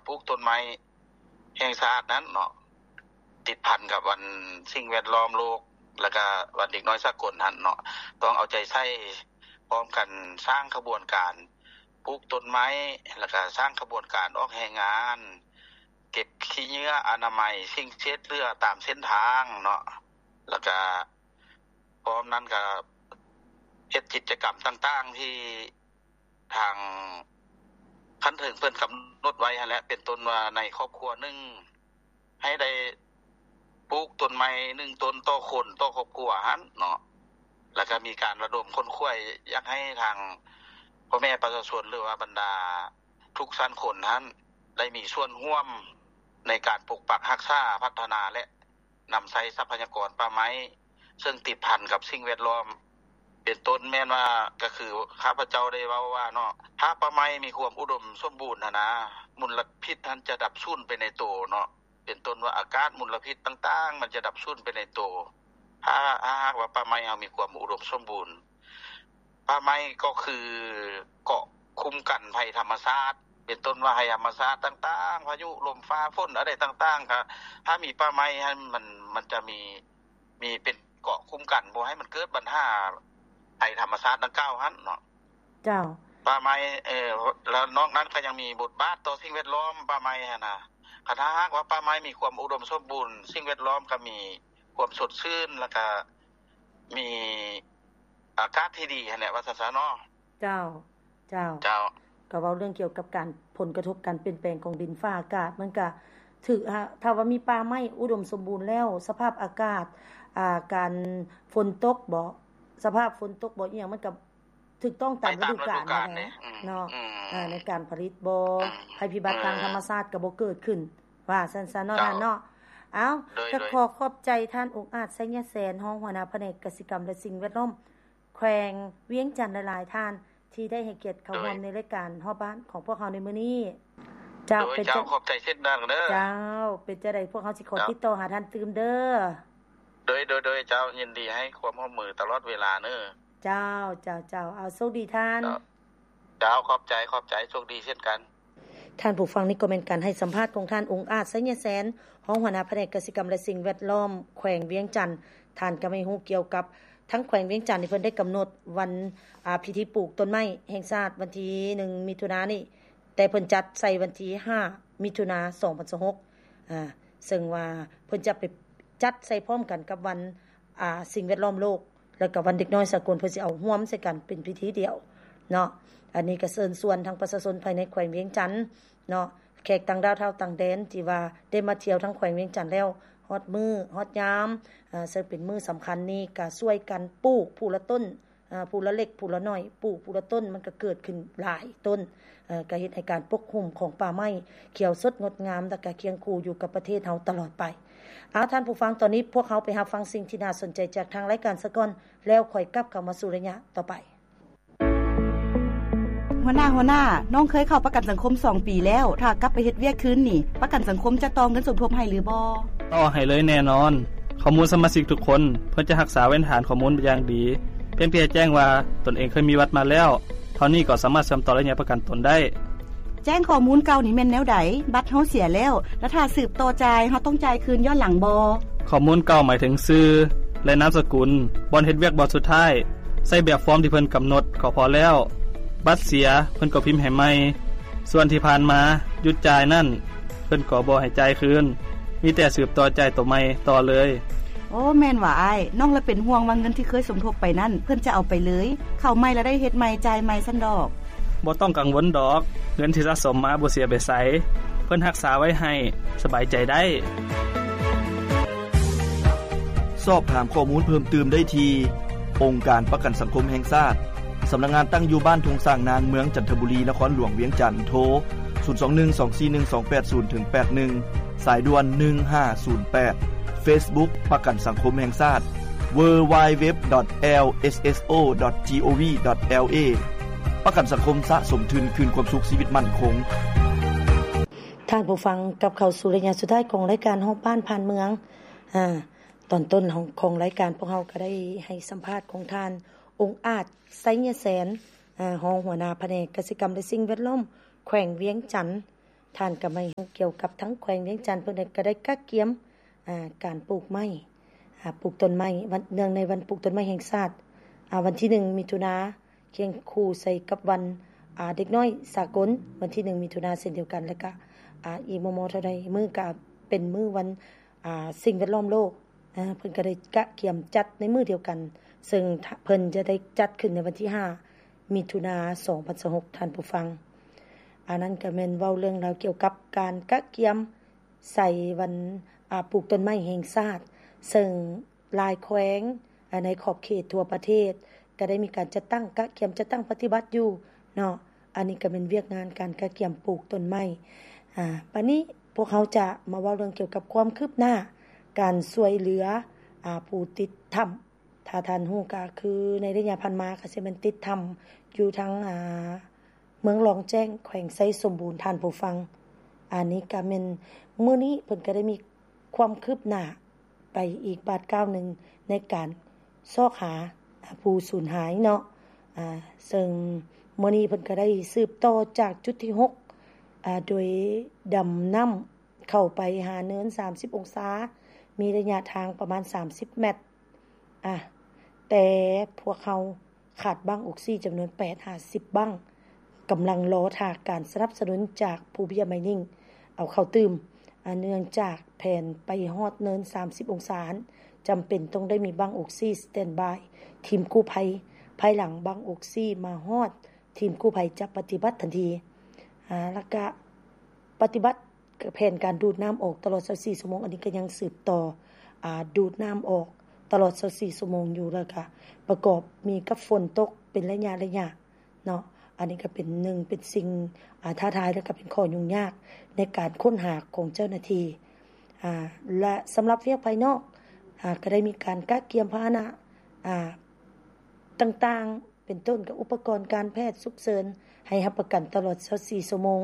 ປູກຕົ້ນໄມ້ແຫ່ງຊາດນັ້ນເນາະ ຕິດພັນກັບວັນສິ່ງແວດລ້ອມໂລກ ແລ້ວກະວັນເດັກນ້ອຍສາກົນຫັ້ນເນາະ ຕ້ອງເອົາໃຈໃສ່ພ້ອມກັນ ສ້າງຂະບວນການປູກຕົ້ນໄມ້ ແລ້ວກະສ້າງຂະບວນການອອກແຮງງານ ເກັບຂີ້ເຫຍື້ອອະນາໄມ ສິ່ງເສດເຫຼືອຕາມເສັ້ນທາງເນາະ ແລ້ວກະ ພ້ອມນັ້ນກະເຮັດກິດຈະກຳຕ່າງໆ ທີ່ທາງຂັ້ນເທິງເພິ່ນກຳນົດໄວ້ຫັ້ນແຫຼະ ເປັນຕົ້ນວ່າໃນຄອບຄົວໜຶ່ງ ໃຫ້ໄດ້ປູກຕົ້ນໄມ້ໜຶ່ງຕົ້ນຕໍ່ຄົນຕໍ່ຄອບຄົວຫັ້ນເນາະ ແລ້ວກະມີການລະດົມຂົນຂວາຍ ຢາກໃຫ້ທາງພໍ່ແມ່ປະຊາຊົນ ຫຼືວ່າບັນດາທຸກຊັ້ນຄົນຫັ້ນ ໄດ້ມີສ່ວນຮ່ວມໃນການປົກປັກຮັກສາ ພັດທະນາ ແລະ ນຳໃຊ້ຊັບພະຍາກອນປ່າໄມ້ ເຊິ່ງຕິດພັນກັບສິ່ງແວດລ້ອມ ເປັນຕົ້ນແມ່ນວ່າ ກະຄືຂ້າພະເຈົ້າໄດ້ເວົ້າວ່າເນາະ ຖ້າປ່າໄມ້ມີຄວາມອຸດົມສົມບູນຫັ້ນນາ ມົນລະພິດຫັ້ນຈະດັບສູນໄປໃນໂຕເນາະ ເປັນຕົ້ນວ່າອາກາດ ມົນລະພິດຕ່າງໆ ມັນຈະດັບສູນໄປໃນໂຕ ຖ້າ ຖ້າຫາກວ່າປ່າໄມ້ເຮົາມີຄວາມອຸດົມສົມບູນ. ປ່າໄມ້ກໍຄືເກາະຄຸ້ມກັນໄພທຳມະຊາດ ເປັນຕົ້ນວ່າໄພທຳມະຊາດຕ່າງໆ ພາຍຸລົມຟ້າຝົນອັນໃດຕ່າງໆ ກະຖ້າມີປ່າໄມ້ຫັ້ນ ມັນ ມັນຈະມີ ມີເປັນເກາະຄຸ້ມກັນ ບໍ່ໃຫ້ມັນເກີດບັນຫາໄພທຳມະຊາດດັ່ງກ່າວຫັ້ນເນາະ. ເຈົ້າ. ປ່າໄມ້ ເອີ ແລ້ວນອກນັ້ນກະຍັງມີບົດບາດຕໍ່ສິ່ງແວດລ້ອມ ປ່າໄມ້ຫັ້ນນະ ຄັນຖ້າຫາກວ່າປ່າໄມ້ມີຄວາມອຸດົມສົມບູນ ສິ່ງແວດລ້ອມກະມີຄວາມສົດຊື່ນ ແລ້ວກະ ມີອາກາດທີ່ດີຫັ້ນແຫຼະ ວ່າຊັ້ນຊະເນາະ. ເຈົ້າ ເຈົ້າ ເຈົ້າ. ກໍເວົ້າເລື່ອງກ່ຽວກັບການ ຜົນກະທົບການປ່ຽນແປງຂອງດິນຟ້າອາກາດ ມັນກະຖືກ ຖ້າ ຖ້າວ່າມີປ່າໄມ້ອຸດົມສົມບູນແລ້ວ ສະພາບອາກາດ ອ່າ ການຝົນຕົກບໍ ສະພາບຝົນຕົກບໍ ອີ່ຫຍັງ ມັນກະຖືກຕ້ອງຕາມລະດູການ ໄປຕາມລະດູການແຫຼະ ເນາະ ອືມ ອ່າ ໃນການຜະລິດບໍ ອືມ ໄພພິບັດທາງທຳມະຊາດກະບໍ່ເກີດຂຶ້ນ ວ່າຊັ້ນຊະເນາະ ເຈົ້າ ທ່ານເນາະ. ເອົ້າ ໂດຍ ກະ ໂດຍ ຂໍຂອບໃຈທ່ານ ອົງອາດ ໄຊຍະແສນ ຮອງຫົວໜ້າພະແນກກະສິກຳ ແລະ ສິ່ງແວດລ້ອມ ແຂວງວຽງຈັນຫຼາຍໆ ທ່ານ ທີ່ໄດ້ໃຫ້ກຽດເຂົ້າ ໂດຍ ຮ່ວມໃນລາຍການຮອບບ້ານຂອງພວກເຮົາໃນມື້ນີ້. ເຈົ້າ ໂດຍ ເປັນ ເຈົ້າ ເຈົ້າ ຂອບໃຈເຊັ່ນກັນເດີ. ເຈົ້າ ເປັນຈັ່ງໃດ ພວກເຮົາຊິຂໍ ເຈົ້າ ຕິດຕໍ່ຫາທ່ານຕື່ມເດີ. ໂດຍ ໂດຍ ໂດຍ ເຈົ້າ ຍິນດີໃຫ້ຄວາມຮ່ວມມືຕະຫຼອດເວລາເນີ. ເຈົ້າ ເຈົ້າ ເຈົ້າ ເອົາ ໂຊກດີທ່ານ. ເຈົ້າ ເຈົ້າ ຂອບໃຈ ຂອບໃຈ ໂຊກດີເຊັ່ນກັນ. ທ່ານຜູ້ຟັງ ນີ້ກໍແມ່ນການໃຫ້ສຳພາດຂອງທ່ານ ອົງອາດ ໄຊຍະແສນ ຮອງຫົວໜ້າພະແນກກະສິກຳ ແລະ ສິ່ງແວດລ້ອມ ແຂວງວຽງຈັນ. ທ່ານກໍໃຫ້ຮູ້ກ່ຽວກັບ ທາງແຂວງວຽງຈັນນີ້ ເພິ່ນໄດ້ກຳນົດວັນ ອ່າ ພິທີປູກຕົ້ນໄມ້ແຫ່ງຊາດ ວັນທີໜຶ່ງ ມິຖຸນານີ້ ແຕ່ເພິ່ນຈັດໃສ່ວັນທີຫ້າ ມິຖຸນາ ສອງພັນຊາວຫົກ ອ່າ ເຊິ່ງວ່າເພິ່ນຈະໄປຈັດໃສ່ພ້ອມກັນກັບວັນ ອ່າ ສິ່ງແວດລ້ອມໂລກ ແລ້ວກໍວັນເດັກນ້ອຍສາກົນ ເພິ່ນຊິເອົາຮ່ວມໃສ່ກັນເປັນພິທີດຽວເນາະ. ອັນນີ້ກໍເຊີນຊວນທັງປະຊາຊົນພາຍໃນແຂວງວຽງຈັນເນາະ ແຂກຕ່າງດ້າວ ຊາວຕ່າງແດນ ທີ່ວ່າໄດ້ມາທ່ຽວທາງແຂວງວຽງຈັນແລ້ວ ຮອດມື້ຮອດຍາມ ເຊິ່ງເປັນມື້ສຳຄັນນີ້ ກໍຊ່ວຍກັນປູກຜູ້ລະຕົ້ນ ເອີ ຜູ້ລະເລັກຜູ້ລະນ້ອຍ ປູກຜູ້ລະຕົ້ນ ມັນກໍເກີດຂຶ້ນຫຼາຍຕົ້ນ ເອີ ກໍເຮັດໃຫ້ການປົກຫຸ້ມຂອງປ່າໄມ້ຂຽວສົດງົດງາມ ແລ້ວກໍຄຽງຄູ່ຢູ່ກັບປະເທດເຮົາຕະຫຼອດໄປ. ເອົາ ທ່ານຜູ້ຟັງ ຕອນນີ້ພວກເຮົາໄປຮັບຟັງສິ່ງທີ່ໜ້າສົນໃຈຈາກທາງລາຍການສາກ່ອນ ແລ້ວຄ່ອຍກັບເຂົ້າມາສູ່ໄລຍະຕໍ່ໄປ. ຫົວໜ້າ, ຫົວໜ້າ, ນ້ອງເຄີຍເຂົ້າປະກັນສັງຄົມສອງປີແລ້ວ, ຖ້າກັບໄປເຮັດວຽກຄືນນີ້, ປະກັນສັງຄົມຈະຕໍ່ເງິນສົມທົບໃຫ້ຫຼືບໍ່? ຕໍ່ໃຫ້ເລີຍແນ່ນອນ. ຂໍ້ມູນສະມາຊິກທຸກຄົນ ເພິ່ນຈະຮັກສາເວນຖານຂໍ້ມູນຢ່າງດີ, ພຽງແຕ່ແຈ້ງວ່າຕົນເອງເຄີຍມີບັດມາແລ້ວ, ເທົ່ານີ້ກໍສາມາດເຊື່ອມຕໍ່ໄລຍະປະກັນຕົນໄດ້. ແຈ້ງຂໍ້ມູນເກົ່ານີ້ແມ່ນແນວໃດ? ບັດເຮົາເສຍແລ້ວ, ແລ້ວຖ້າສືບຕໍ່ຈ່າຍ, ເຮົາຕ້ອງຈ່າຍຄືນຍ້ອນຫຼັງບໍ່? ຂໍ້ມູນເກົ່າໝາຍເຖິງຊື່ ແລະ ນາມສະກຸນ, ບ່ອນເຮັດວຽກບ່ອນສຸດທ້າຍ, ໃສ່ແບບຟອມທີ່ເພິ່ນກຳນົດກໍພໍແລ້ວ. ບັດເສຍ, ເພິ່ນກໍພິມໃຫ້ໃໝ່. ສ່ວນທີ່ຜ່ານມາຢຸດຈ່າຍນັ້ນ, ເພິ່ນກໍບໍ່ໃຫ້ຈ່າຍຄືນ, ມີແຕ່ສືບຕໍ່ຈ່າຍໂຕໃໝ່ຕໍ່ເລີຍ. ໂອ້, ແມ່ນຫວາອ້າຍ. ນ້ອງລະເປັນຫ່ວງວ່າເງິນທີ່ເຄີຍສົມທົບໄປນັ້ນ, ເພິ່ນຈະເອົາໄປເລີຍ, ເຂົ້າໃໝ່ລະໄດ້ເຮັດໃໝ່, ຈ່າຍໃໝ່ຊັ້ນດອກ. ບໍ່ຕ້ອງກັງວົນດອກ, ເງິນທີ່ສະສົມມາບໍ່ເສຍໄປໃສ, ເພິ່ນຮັກສາໄວ້ໃຫ້, ສະບາຍໃຈໄດ້. ສອບຖາມຂໍ້ມູນເພີ່ມຕື່ມໄດ້ທີ່ ອົງການປະກັນສັງຄົມແຫ່ງຊາດ, ສຳນັກງານຕັ້ງຢູ່ບ້ານທົ່ງຊ້າງນາງ, ເມືອງຈັນທະບູລີ, ນະຄອນຫຼວງວຽງຈັນ, ໂທ ສູນສອງໜຶ່ງ ສອງສີ່ໜຶ່ງ ສອງແປດສູນ ເຖິງ ແປດໜຶ່ງ, ສາຍດ່ວນ ໜຶ່ງຫ້າສູນແປດ, ເຟສບຸກ ປະກັນສັງຄົມແຫ່ງຊາດ, ເວີ ດັບເບິນຢູ ດັບເບິນຢູ ດັບເບິນຢູ ດັບເບິນຢູ ດັບເບິນຢູ ດັບເບິນຢູ ດັບເບິນຢູ ດັບເບິນຢູ ດັບເບິນຢູ ປະກັນສັງຄົມສະສົມທຶນຄືນຄວາມສຸກຊີວິດໝັ້ນຄົງ. ທ່ານຜູ້ຟັງ, ກັບເຂົ້າສູ່ໄລຍະສຸດທ້າຍຂອງລາຍການຮອບບ້ານຜ່ານເມືອງ. ອາ, ຕອນຕົ້ນຂອງ, ຂອງລາຍການພວກເຮົາກໍໄດ້ໃຫ້ສຳພາດຂອງທ່ານ ອົງອາດ ໄຊຍະແສນ, ອາ, ຮອງຫົວໜ້າພະແນກກະສິກຳ ແລະ ສິ່ງແວດລ້ອມ ແຂວງວຽງຈັນ. ທ່ານກໍໄມ່ຮູ້ກ່ຽວກັບທາງແຂວງວຽງຈັນ ເພິ່ນກໍໄດ້ກະກຽມ ອ່າ ການປູກໄມ້ ອ່າ ປູກຕົ້ນໄມ້ ວັນ ເນື່ອງໃນວັນປູກຕົ້ນໄມ້ແຫ່ງຊາດ ອ່າ ວັນທີໜຶ່ງ ມິຖຸນາ ຄຽງຄູ່ໃສ່ກັບວັນ ອ່າ ເດັກນ້ອຍສາກົນ ວັນທີໜຶ່ງ ມິຖຸນາ ເຊັ່ນດຽວກັນ ແລ້ວກະ ອ່າ ອີກບໍ່ມໍ່ເທົ່າໃດມື້ກະເປັນມື້ວັນ ອ່າ ສິ່ງແວດລ້ອມໂລກ ເພິ່ນກໍໄດ້ກະກຽມຈັດໃນມື້ດຽວກັນ ເຊິ່ງເພິ່ນຈະໄດ້ຈັດຂຶ້ນໃນວັນທີຫ້າ ມິຖຸນາ ສອງພັນຊາວຫົກ ທ່ານຜູ້ຟັງ. ອັນນັ້ນກໍແມ່ນເວົ້າເລື່ອງລາວກ່ຽວກັບການກະກຽມໃສ່ວັນ ອ່າ ປູກຕົ້ນໄມ້ແຫ່ງຊາດ ເຊິ່ງຫຼາຍແຂວງ ອ່າ ໃນຂອບເຂດທົ່ວປະເທດ ກໍໄດ້ມີການຈັດຕັ້ງ ກະກຽມຈັດຕັ້ງປະຕິບັດຢູ່ເນາະ. ອັນນີ້ກໍແມ່ນວຽກງານການກະກຽມປູກຕົ້ນໄມ້. ອາ ບາດນີ້ພວກເຮົາຈະມາເວົ້າເລື່ອງກ່ຽວກັບຄວາມຄືບໜ້າການຊ່ວຍເຫຼືອ ອາ ຜູ້ຕິດຖ້ຳ. ຖ້າທ່ານຮູ້ກໍຄືໃນໄລຍະຜ່ານມາກໍຊິແມ່ນຕິດຖ້ຳຢູ່ທາງ ອາ ເມືອງລອງແຈ້ງ ແຂວງໄຊສົມບູນ ທ່ານຜູ້ຟັງ. ອັນນີ້ກໍແມ່ນມື້ນີ້ເພິ່ນກໍໄດ້ມີຄວາມຄືບໜ້າ ໄປອີກບາດກ້າວໜຶ່ງໃນການຊອກຫາ ອາ ຜູ້ສູນຫາຍເນາະ. ອາ ເຊິ່ງມື້ນີ້ເພິ່ນກໍໄດ້ສືບຕໍ່ຈາກຈຸດທີຫົກ ອາ ໂດຍດຳນ້ຳເຂົ້າໄປຫາເນີນສາມສິບອົງສາ ມີໄລຍະທາງປະມານສາມສິບແມັດ. ອາ ແຕ່ພວກເຮົາ ຂາດບັ້ງອົກຊີຈຳນວນແປດຫາສິບບັ້ງ ກຳລັງລໍຖ້າການສະໜັບສະໜູນຈາກພູເບຍໄມນິງເອົາເຂົ້າຕື່ມ. ອາ ເນື່ອງຈາກແຜນໄປຮອດເນີນສາມສິບອົງສາ ຈຳເປັນຕ້ອງໄດ້ມີບັ້ງອົກຊີສະແຕນບາຍທີມກູ້ໄພ. ພາຍຫຼັງບັ້ງອົກຊີມາຮອດ, ທີມກູ້ໄພຈະປະຕິບັດທັນທີ. ອາ ແລ້ວກະປະຕິບັດ ແຜນການດູດນ້ຳອອກຕະຫຼອດຊາວສີ່ຊົ່ວໂມງ ອັນນີ້ກໍຍັງສືບຕໍ່ ອາ ດູດນ້ຳອອກຕະຫຼອດຊາວສີ່ຊົ່ວໂມງຢູ່ ແລ້ວກະປະກອບມີກັບຝົນຕົກເປັນໄລຍະໆເນາະ. ອັນນີ້ກໍເປັນໜຶ່ງ ເປັນສິ່ງ ອາ ທ້າທາຍ ແລ້ວກໍເປັນຂໍ້ຫຍຸ້ງຍາກໃນການຄົ້ນຫາຂອງເຈົ້າໜ້າທີ່. ອາ ແລະ ສຳລັບວຽກພາຍນອກ ອາ ກໍໄດ້ມີການກະກຽມພາຫະນະ ອາ ຕ່າງໆ ເປັນຕົ້ນກັບອຸປະກອນການແພດສຸກເສີນໃຫ້ຮັບປະກັນຕະຫຼອດຊາວສີ່ຊົ່ວໂມງ,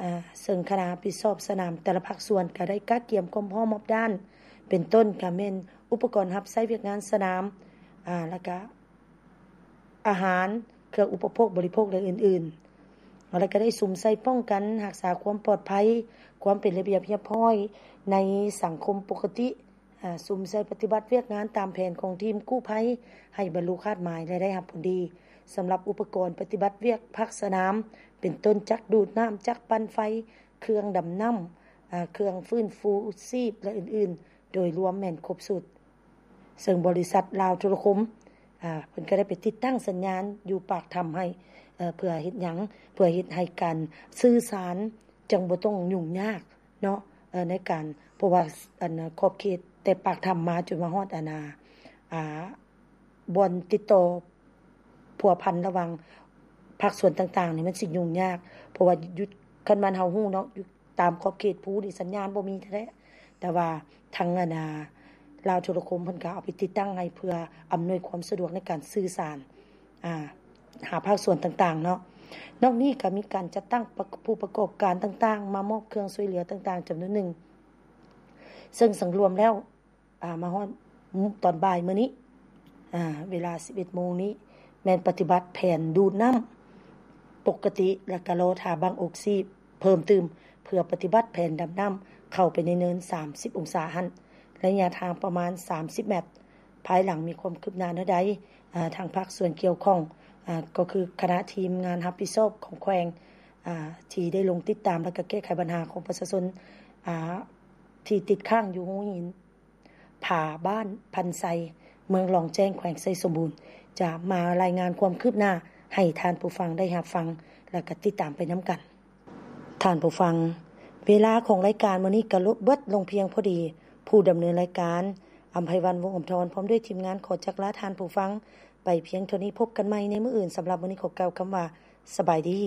ອາ ເຊິ່ງຄະນະຮັບຜິດຊອບສະໜາມແຕ່ລະພາກສ່ວນກໍໄດ້ກະກຽມຄວາມພ້ອມຮອບດ້ານ, ເປັນຕົ້ນກໍແມ່ນອຸປະກອນຮັບໃຊ້ວຽກງານສະໜາມ, ອາ ແລ້ວກະອາຫານ, ເຄື່ອງອຸປະໂພກບໍລິໂພກ ແລະ ອື່ນໆ, ແລ້ວກໍໄດ້ສຸມໃສ່ປ້ອງກັນຮັກສາຄວາມປອດໄພ, ຄວາມເປັນລະບຽບຮຽບຮ້ອຍໃນສັງຄົມປົກກະຕິ. ອາ ສຸມໃສ່ປະຕິບັດວຽກງານຕາມແຜນຂອງທີມກູ້ໄພໃຫ້ບັນລຸຄາດໝາຍ ແລະ ໄດ້ຮັບຜົນດີ. ສຳລັບອຸປະກອນປະຕິບັດວຽກພາກສະໜາມ ເປັນຕົ້ນຈັກດູດນ້ຳ, ຈັກປັ່ນໄຟ, ເຄື່ອງດຳນ້ຳ, ອາ ເຄື່ອງຟື້ນຟູຊີບ ແລະ ອື່ນໆ ໂດຍລວມແມ່ນຄົບຊຸດ. ເຊິ່ງບໍລິສັດລາວໂທລະຄົມ ອາ ເພິ່ນກໍໄດ້ໄປຕິດຕັ້ງສັນຍານຢູ່ປາກຖ້ຳໃຫ້ ເພື່ອເຮັດຫຍັງ? ເພື່ອເຮັດໃຫ້ການສື່ສານຈັ່ງບໍ່ຕ້ອງຫຍຸ້ງຍາກ ເນາະ ເອີ ໃນການ ເພາະວ່າ ອັນ ຂອບເຂດແຕ່ປາກຖ້ຳມາຈົນມາຮອດ ອັນ ອາ ບ່ອນຕິດຕໍ່ພົວພັນລະຫວ່າງພາກສ່ວນຕ່າງໆນີ້ ມັນຊິຫຍຸ້ງຍາກ ເພາະວ່າຢູ່ ຄັນບ້ານເຮົາຮູ້ເນາະ ຢູ່ຕາມຂອບເຂດພູນີ້ສັນຍານບໍ່ມີແທ້ໆ ແຕ່ວ່າທາງ ອັນ ອາ ລາວໂທລະຄົມເພິ່ນກໍເອົາໄປຕິດຕັ້ງໃຫ້ ເພື່ອອຳນວຍຄວາມສະດວກໃນການສື່ສານ ອາ ຫາພາກສ່ວນຕ່າງໆເນາະ. ນອກນີ້ກໍມີການຈັດຕັ້ງປະ ຜູ້ປະກອບການຕ່າງໆ ມາມອບເຄື່ອງຊ່ວຍເຫຼືອຕ່າງໆຈຳນວນໜຶ່ງ ເຊິ່ງສັງລວມແລ້ວ ອາ ມາຮອດຕອນບ່າຍມື້ນີ້ ອາ ເວລາສິບເອັດໂມງນີ້ ແມ່ນປະຕິບັດແຜນດູດນ້ຳປົກກະຕິ ແລະ ກະລໍຖ້າບັ້ງອົກຊີເພີ່ມຕື່ມ ເພື່ອປະຕິບັດແຜນດຳນ້ຳເຂົ້າໄປໃນເນີນສາມສິບອົງສາຫັ້ນ ໄລຍະທາງປະມານສາມສິບແມັດ. ພາຍຫຼັງມີຄວາມຄືບໜ້າແນວໃດ ອາ ທາງພາກສ່ວນກ່ຽວຂ້ອງ ອາ ກໍຄືຄະນະທີມງານຮັບຜິດຊອບຂອງແຂວງ ອາ ທີ່ໄດ້ລົງຕິດຕາມ ແລະ ກະແກ້ໄຂບັນຫາຂອງປະຊາຊົນ ອາ ທີ່ຕິດຄ້າງຢູ່ຮູຫີນຜາບ້ານພັນໄຊ ເມືອງລອງແຈ້ງ ແຂວງໄຊສົມບູນ ຈະມາລາຍງານຄວາມຄືບໜ້າໃຫ້ທ່ານຜູ້ຟັງໄດ້ຮັບຟັງ ແລະ ກະຕິດຕາມໄປນຳກັນ. ທ່ານຜູ້ຟັງ, ເວລາຂອງລາຍການມື້ນີ້ກໍເບິດລົງພຽງພໍດີ. ຜູ້ດຳເນີນລາຍການ ອຳໄພວັນ ວົງອຳທອນ ພ້ອມດ້ວຍທີມງານ ຂໍຈັກລາທ່ານຜູ້ຟັງໄປພຽງເທົ່ານີ້. ພົບກັນໃໝ່ໃນມື້ອື່ນ. ສຳລັບມື້ນີ້ ຂໍກ່າວຄຳວ່າ ສະບາຍດີ.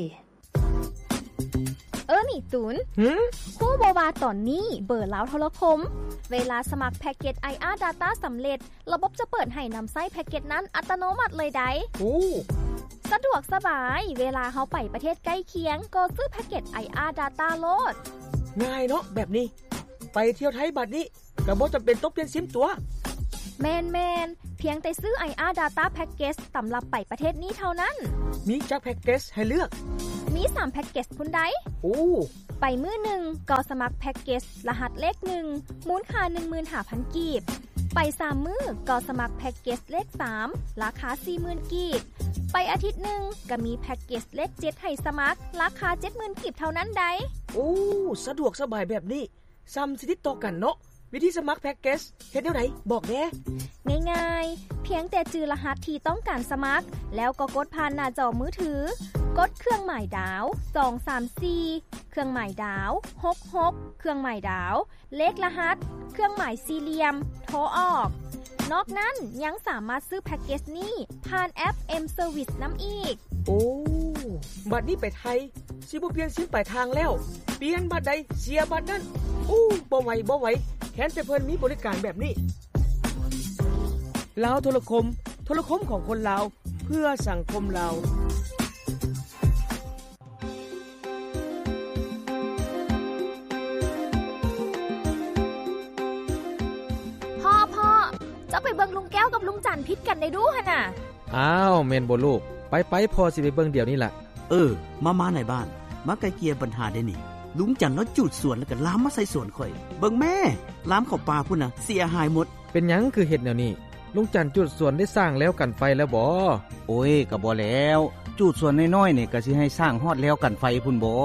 ເອີ ນີ້ຕູນ. ຫື? ຮູ້ບໍ່ວ່າຕອນນີ້ເບີລາວໂທລະຄົມ ເວລາສະໝັກແພັກເກັດ ໄອອາ Data ສຳເລັດ ລະບົບຈະເປີດໃຫ້ນຳໃຊ້ແພັກເກັດນັ້ນອັດຕະໂນມັດເລີຍໃດ໋. ໂອ້ ສະດວກສະບາຍ, ເວລາເຮົາໄປປະເທດໃກ້ຄຽງ ກໍຊື້ແພັກເກັດ ໄອອາ Data ໂລດ. ງ່າຍເນາະແບບນີ້, ໄປທ່ຽວໄທບາດນີ້ ກໍບໍ່ຈຳເປັນຕ້ອງປ່ຽນຊິມຕົວະ. ແມ່ນໆ, ພຽງແຕ່ຊື້ ໄອອາ Data Package ສຳລັບໄປປະເທດນີ້ເທົ່ານັ້ນ. ມີຈັກແພັກເກັດໃຫ້ເລືອກ? ມີສາມແພັກເກັດພຸ້ນໃດ໋. ໂອ້ ໄປມື້ໜຶ່ງກໍສະໝັກແພັກເກັດລະຫັດເລກໜຶ່ງ ມູນຄ່າໜຶ່ງໝື່ນຫ້າພັນກີບ, ໄປສາມມື້ກໍສະໝັກແພັກເກັດເລກສາມ ລາຄາສີ່ໝື່ນກີບ, ໄປອາທິດໜຶ່ງກໍມີແພັກເກັດເລກເຈັດໃຫ້ສະໝັກ ລາຄາເຈັດໝື່ນກີບເທົ່ານັ້ນໃດ໋. ໂອ້ ສະດວກສະບາຍແບບນີ້ ສ່ຳຊິຕິດຕໍ່ກັນເນາະ. ວິທີສະໝັກແພັກເກັດເຮັດແນວໃດ? ບອກແດ່. ງ່າຍໆ, ພຽງແຕ່ຈື່ລະຫັດທີ່ຕ້ອງການສະໝັກ ແລ້ວກໍກົດຜ່ານໜ້າຈໍມືຖື, ກົດເຄື່ອງໝາຍດາວ ສອງສາມສີ່ ເຄື່ອງໝາຍດາວ ຫົກຫົກ ເຄື່ອງໝາຍດາວ ເລກລະຫັດ ເຄື່ອງໝາຍສີ່ຫຼ່ຽມ ໂທອອກ. ນອກນັ້ນຍັງສາມາດຊື້ແພັກເກັດນີ້ຜ່ານແອັບ M Service ນຳອີກ. ໂອ້ ບັດນີ້ໄປໄທ ຊິບໍ່ປ່ຽນຊິມປາຍທາງແລ້ວ, ປ່ຽນບັດໃດເສຍບັດນັ້ນ. ໂອ້ ບໍ່ໄຫວ ບໍ່ໄຫວ, ແຄ້ນແຕ່ເພິ່ນມີບໍລິການແບບນີ້. ລາວໂທລະຄົມ, ໂທລະຄົມຂອງຄົນລາວ ເພື່ອສັງຄົມລາວ. ພໍ່ ພໍ່ ເຈົ້າໄປເບິ່ງລຸງແກ້ວກັບລຸງຈັນຜິດກັນໄດ້ດູຫັ້ນນະ. ອ້າວ ແມ່ນບໍ່ລູກ? ໄປໆ ພໍ່ຊິໄປເບິ່ງດຽວນີ້ລະ. ເອີ ມາໆ ນາຍບ້ານ, ມາໄກ່ເກ່ຍບັນຫາແດ່ນີ້. ລຸງຈັນລາວຈູດສວນ ແລ້ວກໍລາມມາໃສ່ສວນຂ້ອຍ. ເບິ່ງແມ້ ລາມເຂົ້າປ່າພຸ້ນນະ ເສຍຫາຍໝົດ. ເປັນຫຍັງຄືເຮັດແນວນີ້? ລຸງຈັນຈູດສວນໄດ້ສ້າງແລວກັນໄຟແລ້ວບໍ? ໂອ້ຍ ກໍບໍ່ແລ້ວ, ຈູດສວນນ້ອຍໆ ນີ້ກໍຊິໃຫ້ສ້າງຮອດແລວກັນໄຟພຸ້ນບໍ?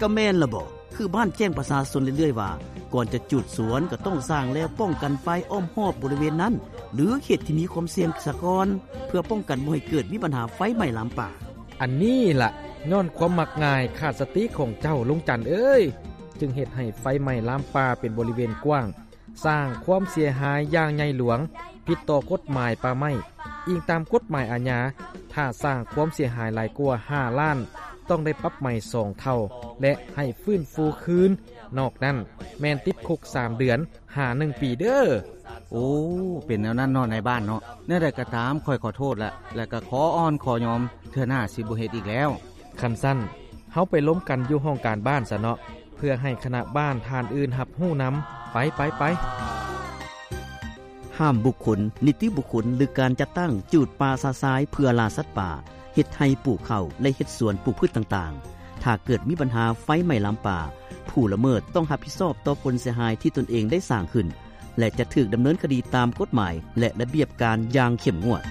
ກໍແມ່ນລະບໍ, ຄືບ້ານແຈ້ງປະຊາຊົນເລື້ອຍໆວ່າ ກ່ອນຈະຈູດສວນກໍຕ້ອງສ້າງແລວປ້ອງກັນໄຟອ້ອມຮອບບໍລິເວນນັ້ນ ຫຼື ເຂດທີ່ມີຄວາມສ່ຽງສາກ່ອນ ເພື່ອປ້ອງກັນບໍ່ໃຫ້ເກີດມີບັນຫາໄຟໄໝ້ລາມປ່າ. ອັນນີ້ລະ ຍ້ອນຄວາມມັກງ່າຍຂາດສະຕິຂອງເຈົ້າ ລຸງຈັນເອີຍ, ຈຶ່ງເຮັດໃຫ້ໄຟໄໝ້ລາມປ່າເປັນບໍລິເວນກວ້າງ, ສ້າງຄວາມເສຍຫາຍຢ່າງໃຫຍ່ຫຼວງ, ຜິດຕໍ່ກົດໝາຍປ່າໄມ້. ອີງຕາມກົດໝາຍອາຍາ, ຖ້າສ້າງຄວາມເສຍຫາຍຫຼາຍກວ່າຫ້າລ້ານ, ຕ້ອງໄດ້ປັບໃໝສອງເທົ່າ ແລະ ໃຫ້ຟື້ນຟູຄືນ. ນອກນັ້ນແມ່ນຕິດຄຸກສາມເດືອນ ຫາໜຶ່ງປີເດີ້. ໂອ້ ເປັນແນວນັ້ນເນາະນາຍບ້ານເນາະ. ແນວໃດກໍຕາມ ຂ້ອຍຂໍໂທດລະ ແລະກໍຂໍອ່ອນຂໍຍອມ, ເທື່ອໜ້າຊິບໍ່ເຮັດອີກແລ້ວ. ຄັນຊັ້ນ ເຮົາໄປລົມກັນຢູ່ຫ້ອງການບ້ານຊະເນາະ, ເພື່ອໃຫ້ຄະນະບ້ານທ່ານອື່ນຮັບຮູ້ນຳ. ໄປ, ໄປ, ໄປ. ຫ້າມບຸກຄົນ, ນິຕິບຸກຄົນ ຫຼື ການຈັດຕັ້ງຈູດປ່າຊະຊາຍເພື່ອລ່າສັດປ່າ, ເຮັດໄຮ່ປູກເຂົ້າ ແລະ ເຮັດສວນປູກພືດຕ່າງໆ. ຖ້າເກີດມີບັນຫາໄຟໄໝ້ລາມປ່າ, ຜູ້ລະເມີດຕ້ອງຮັບຜິດຊອບຕໍ່ຜົນເສຍຫາຍທີ່ຕົນເອງໄດ້ສ້າງຂຶ້ນ ແລະ ຈະຖືກດຳເນີນຄະດີຕາມກົດໝາຍ ແລະ ລະບຽບການຢ່າງເຂັ້ມງວດ.